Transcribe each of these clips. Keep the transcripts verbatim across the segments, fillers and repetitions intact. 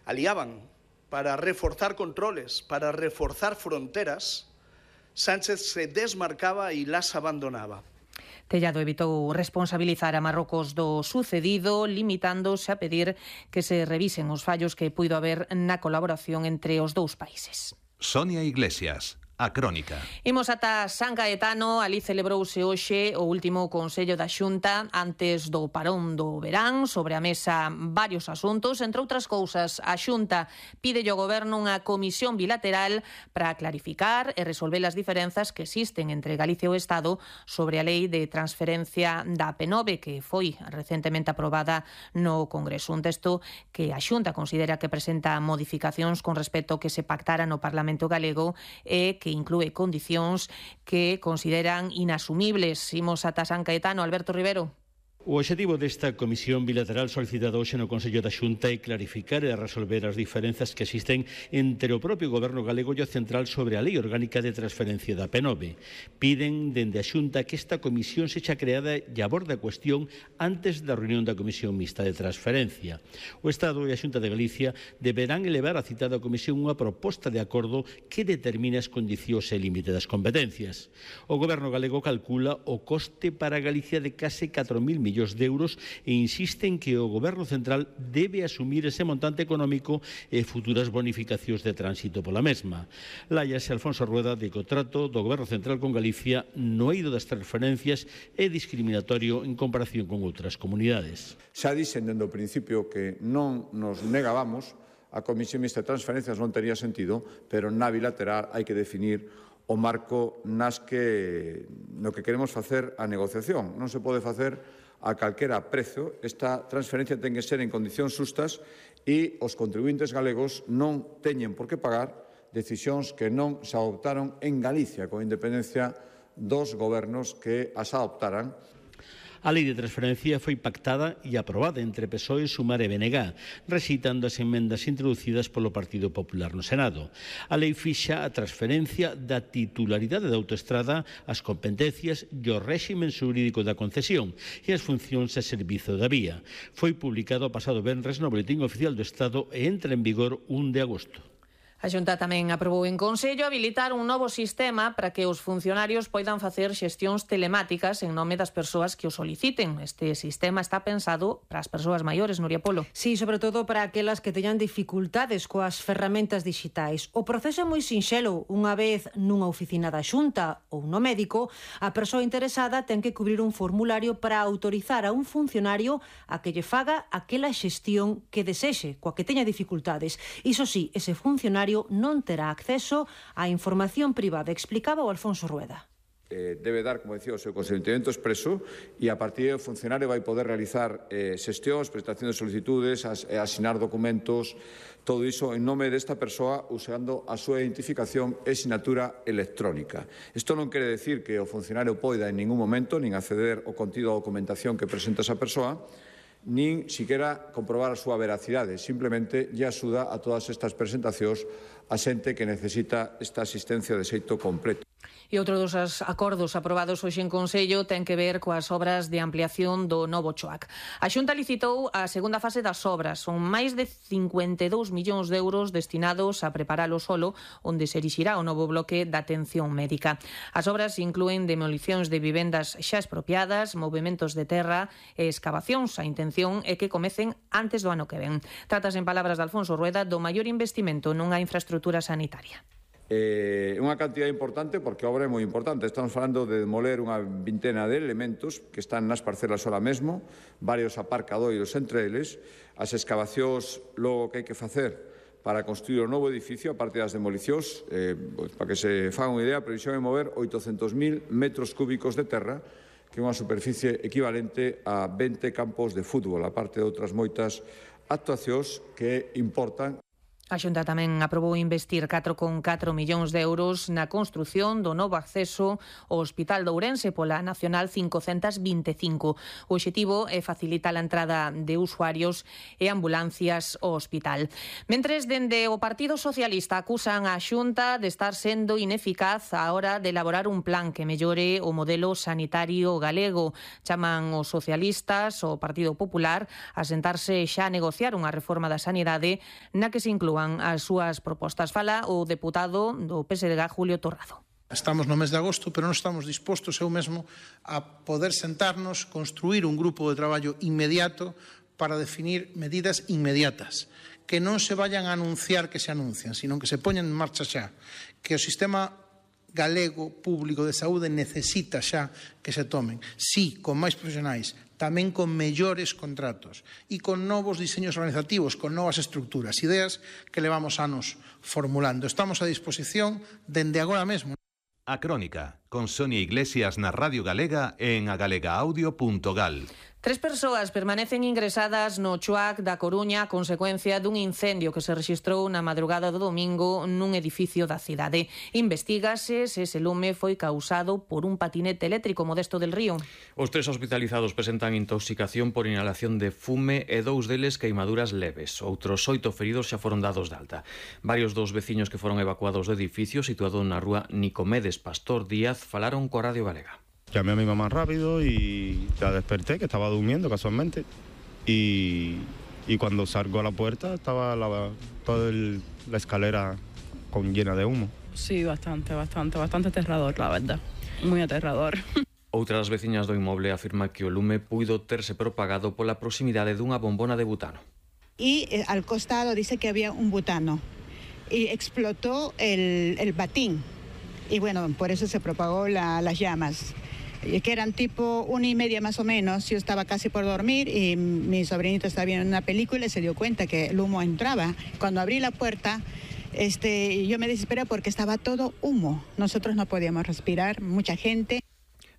aliaban para reforzar controles, para reforzar fronteras, Sánchez se desmarcaba e las abandonaba. Tellado evitou responsabilizar a Marrocos do sucedido, limitándose a pedir que se revisen os fallos que puido haber na colaboración entre os dous países. Sonia Iglesias. A Crónica. Imos ata San Caetano. Ali celebrouse hoxe o último Consello da Xunta antes do parón do verán. Sobre a mesa varios asuntos. Entre outras cousas, a Xunta pide ao Goberno unha comisión bilateral para clarificar e resolver as diferenzas que existen entre Galicia e o Estado sobre a lei de transferencia da P nove que foi recentemente aprobada no Congreso. Un texto que a Xunta considera que presenta modificacións con respecto ao que se pactara no Parlamento galego e que que inclúe condicións que consideran inasumibles. Imos ata San Caetano. Alberto Rivero. O obxectivo desta comisión bilateral solicitada hoxe no Consello da Xunta é clarificar e resolver as diferenzas que existen entre o propio Goberno galego e o central sobre a Lei Orgánica de Transferencia da P nove. Piden dende a Xunta que esta comisión sexa creada e aborde a cuestión antes da reunión da Comisión Mixta de Transferencia. O Estado e a Xunta de Galicia deberán elevar a citada comisión unha proposta de acordo que determine as condicións e límite das competencias. O Goberno galego calcula o coste para Galicia de case catro mil millóns de euros e insiste en que o Goberno central debe asumir ese montante económico e futuras bonificacións de tránsito pola mesma. Láiase Alfonso Rueda de que o trato do Goberno central con Galicia no eido das transferencias é discriminatorio en comparación con outras comunidades. Xa dixen dende o principio que non nos negábamos, a Comisión Mixta de Transferencias non tería sentido, pero na bilateral hai que definir o marco nas que no que queremos facer a negociación. Non se pode facer a calquera prezo. Esta transferencia ten que ser en condicións xustas e os contribuintes galegos non teñen por que pagar decisións que non se adoptaron en Galicia, con independencia dos gobernos que as adoptaran. A lei de transferencia foi pactada e aprobada entre P S O E, Sumar e B N G, rexeitando as emendas introducidas polo Partido Popular no Senado. A lei fixa a transferencia da titularidade da autoestrada, as competencias e o réximen xurídico da concesión e as funcións a servizo da vía. Foi publicado o pasado venres no Boletín Oficial do Estado e entra en vigor un de agosto. A Xunta tamén aprobou en Consello habilitar un novo sistema para que os funcionarios poidan facer xestións telemáticas en nome das persoas que o soliciten. Este sistema está pensado para as persoas maiores, Nuria Polo. Sí, sobre todo para aquelas que teñan dificultades coas ferramentas digitais. O proceso é moi sinxelo. Unha vez nunha oficina da Xunta ou no médico, a persoa interesada ten que cubrir un formulario para autorizar a un funcionario a que lle faga aquela xestión que desexe, coa que teña dificultades. Iso sí, ese funcionario non terá acceso á información privada, explicaba o Alfonso Rueda. Eh, debe dar, como decía, o seu consentimento expreso e a partir do funcionario vai poder realizar eh, xestións, prestación de solicitudes, as, asinar documentos, todo iso en nome desta persoa usando a súa identificación e sinatura electrónica. Isto non quere decir que o funcionario poida en ningún momento nin acceder ao contido da documentación que presenta esa persoa, nin siquiera comprobar a súa veracidade, simplemente lle axuda a todas estas presentacións a xente que necesita esta asistencia de xeito completo. E outro dos acordos aprobados hoxe en Consello ten que ver coas obras de ampliación do novo Choac. A Xunta licitou a segunda fase das obras. Son máis de cincuenta e dous millóns de euros destinados a preparar o solo onde se erixirá o novo bloque da atención médica. As obras inclúen demolicións de vivendas xa expropiadas, movementos de terra e excavacións. A intención é que comecen antes do ano que ven. Tratas, en palabras de Alfonso Rueda, do maior investimento nunha infraestrutura sanitaria. É eh, unha cantidad importante porque a obra é moi importante. Estamos falando de demoler unha vintena de elementos que están nas parcelas ahora mesmo, varios aparcadoiros entre eles, as excavacións logo que hai que facer para construir o novo edificio, a parte das demolicións, eh, pues, para que se faga unha idea, a previsión é mover oitocentos mil metros cúbicos de terra, que é unha superficie equivalente a vinte campos de fútbol, a parte de outras moitas actuacións que importan. A Xunta tamén aprobou investir catro con catro millóns de euros na construción do novo acceso ao Hospital de Ourense pola Nacional cincocentos vinte e cinco. O obxectivo é facilitar a entrada de usuarios e ambulancias ao hospital. Mentres, dende o Partido Socialista acusan a Xunta de estar sendo ineficaz á hora de elaborar un plan que mellore o modelo sanitario galego. Chaman os socialistas o Partido Popular a sentarse xa a negociar unha reforma da sanidade na que se inclúan as súas propostas. Fala o deputado do P S D G, Julio Torrado. Estamos no mes de agosto, pero non estamos dispostos eu mesmo a poder sentarnos, construir un grupo de traballo inmediato para definir medidas inmediatas, que non se vayan a anunciar que se anuncian, sino que se poñan en marcha xa, que o sistema galego público de saúde necesita xa que se tomen, sí, con máis profesionais, tamén con mellores contratos e con novos diseños organizativos, con novas estructuras, ideas que levamos anos formulando. Estamos a disposición dende agora mesmo. A Crónica, con Sonia Iglesias na Radio Galega e en agalegaaudio punto gal. Tres persoas permanecen ingresadas no Chuac da Coruña a consecuencia dun incendio que se rexistrou na madrugada do domingo nun edificio da cidade. Investígase se ese lume foi causado por un patinete eléctrico. Modesto del Río. Os tres hospitalizados presentan intoxicación por inhalación de fume e dous deles queimaduras leves. Outros oito feridos xa foron dados de alta. Varios dos veciños que foron evacuados do edificio situado na rúa Nicomedes Pastor Díaz falaron coa Radio Galega. Llamé a mi mamá rápido y la desperté, que estaba durmiendo casualmente, y, y cuando salgo a la puerta estaba la, toda el, la escalera con, llena de humo. Sí, bastante, bastante, bastante aterrador, la verdad, muy aterrador. Outra das veciñas do inmoble afirma que o lume puido terse propagado pola proximidade dunha bombona de butano. Y eh, al costado dice que había un butano y explotó el, el batín y bueno, por eso se propagó la, las llamas. Que eran tipo una y media más o menos. Yo estaba casi por dormir y mi sobrinito estaba viendo una película y se dio cuenta que el humo entraba. Cuando abrí la puerta, este, yo me desesperé porque estaba todo humo. Nosotros no podíamos respirar, mucha gente.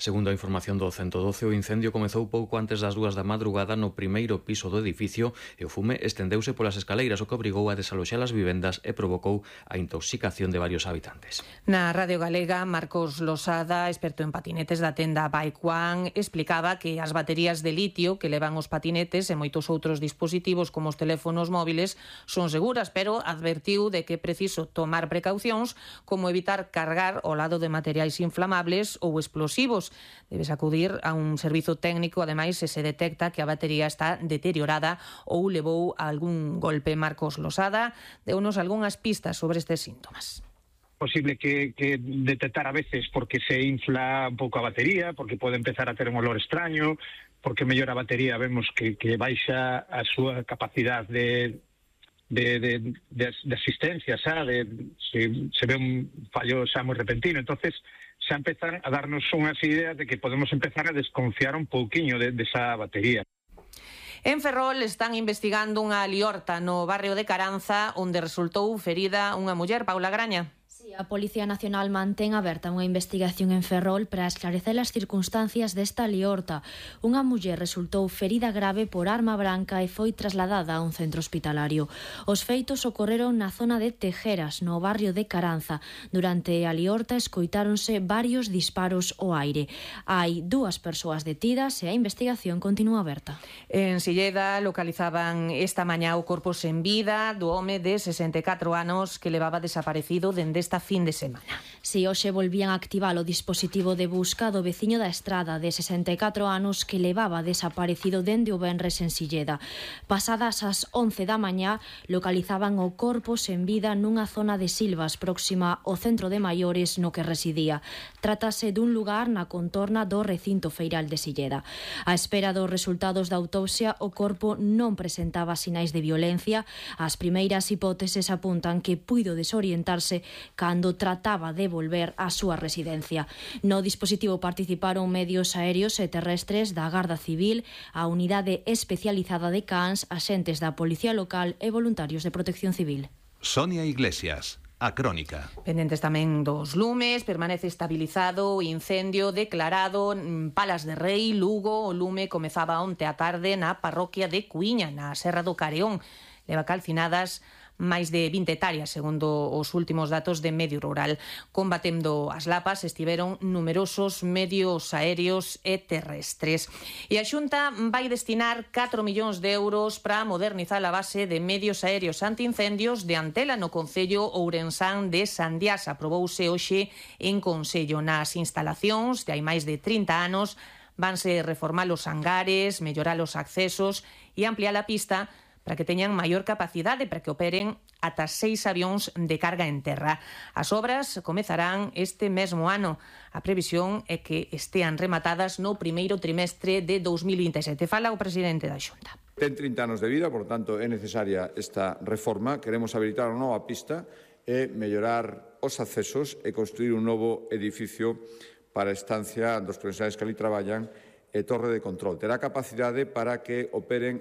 Segundo a información do ciento doce, o incendio comezou pouco antes das dúas da madrugada no primeiro piso do edificio e o fume estendeuse polas escaleiras, o que obrigou a desaloxar as vivendas e provocou a intoxicación de varios habitantes. Na Radio Galega, Marcos Losada, experto en patinetes da tenda Bike One, explicaba que as baterías de litio que levan os patinetes e moitos outros dispositivos como os teléfonos móviles son seguras, pero advertiu de que é preciso tomar precaucións como evitar cargar ao lado de materiais inflamables ou explosivos. Debes acudir a un servizo técnico, ademais, se se detecta que a batería está deteriorada ou levou a algún golpe. Marcos Losada deunos algunhas pistas sobre estes síntomas. Posible que, que detectar a veces porque se infla un pouco a batería, porque pode empezar a ter un olor extraño, porque mellor a batería vemos que, que baixa a súa capacidade de De, de, de, de asistencia, xa, de, se, se ve un fallo xa moi repentino, entonces xa empezan a darnos unhas ideas de que podemos empezar a desconfiar un pouquiño de, de esa batería. En Ferrol están investigando unha liorta no barrio de Caranza onde resultou ferida unha muller, Paula Graña. A Policía Nacional mantén aberta unha investigación en Ferrol para esclarecer as circunstancias desta liorta. Unha muller resultou ferida grave por arma branca e foi trasladada a un centro hospitalario. Os feitos ocorreron na zona de Tejeras, no barrio de Caranza. Durante a liorta escoitáronse varios disparos ao aire. Hai dúas persoas detidas e a investigación continúa aberta. En Silleda localizaban esta mañá o corpo sen vida do home de sesenta e catro anos que levaba desaparecido dende esta fin de semana. Si hoxe volvían a activar o dispositivo de busca do veciño da Estrada de sesenta e catro anos que levaba desaparecido dende o venres en Silleda. Pasadas as once da mañá localizaban o corpo sen vida nunha zona de Silvas próxima ao centro de maiores no que residía. Trátase dun lugar na contorna do recinto feiral de Silleda. A espera dos resultados da autopsia, o corpo non presentaba sinais de violencia. As primeiras hipóteses apuntan que puido desorientarse cando trataba de volver á súa residencia. No dispositivo participaron medios aéreos e terrestres da Garda Civil, a Unidade Especializada de Cans, axentes da Policía Local e voluntarios de Protección Civil. Sonia Iglesias, A Crónica. Pendentes tamén dos lumes, permanece estabilizado o incendio declarado en Palas de Rei, Lugo. O lume comezaba onte á tarde na parroquia de Cuíña, na Serra do Careón. leva calcinadas máis de vinte hectáreas, segundo os últimos datos de Medio Rural. Combatendo as lapas estiveron numerosos medios aéreos e terrestres. E a Xunta vai destinar catro millóns de euros para modernizar a base de medios aéreos antiincendios de Antela no concello ourensán de Sandiás. Aprobouse hoxe en Consello. Nas instalacións de hai máis de trinta anos vanse reformar os hangares, mellorar os accesos e ampliar a pista para que teñan maior capacidade, para que operen ata seis avións de carga en terra. As obras comezarán este mesmo ano. A previsión é que estean rematadas no primeiro trimestre de dous mil vinte e sete. Fala o presidente da Xunta. Ten trinta anos de vida, por tanto, é necesaria esta reforma. Queremos habilitar unha nova pista e mellorar os accesos e construir un novo edificio para a estancia dos profesionais que ali traballan e torre de control. Terá capacidade para que operen